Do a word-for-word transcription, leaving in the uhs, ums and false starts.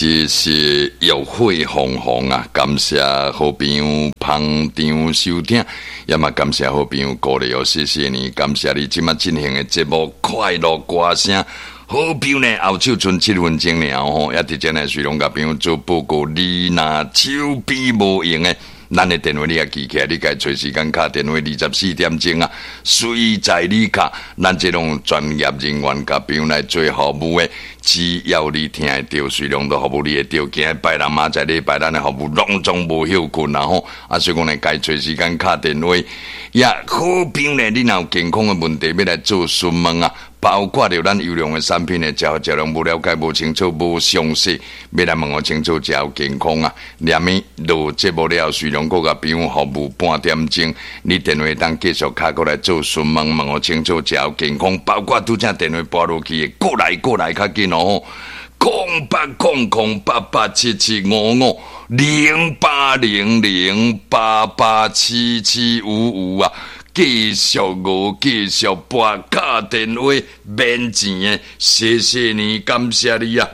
這是浴火鳳凰啊！感謝好朋友捧場收聽，也嘛感謝好朋友鼓勵哦，謝謝你，感謝你這馬進行的節目《快樂歌聲》。好朋友呢，後手賰七分鐘爾吼，也直接呢，隨攏共朋友做報告，你若手邊無閒的，咱的電話你也記起來，你共揣時間敲電話二十四點鐘啊，隨在你敲，咱這種專業人員共朋友來做服務的，只要你聽會著，隨攏都服務你會著。今日拜六明仔載禮拜，咱的服務攏總無歇睏啦吼。啊，所以講呢，共揣時間敲電話，也好朋友呢，你若有健康的問題欲來做詢問啊，包括著咱優良的產品的食食量無了解、無清楚、無詳細，欲來問予清楚，食予健康啊。連物落節目了後，隨攏閣共朋友服務半點鐘，你電話當繼續敲過來做詢問，問予清楚，食予健康。包括拄才電話撥落去的，過來過來較緊哦。空八空空八八七七五五零八零零八八七七五五啊！繼續我繼續撥敲電話免錢的，謝謝你，感謝你啊！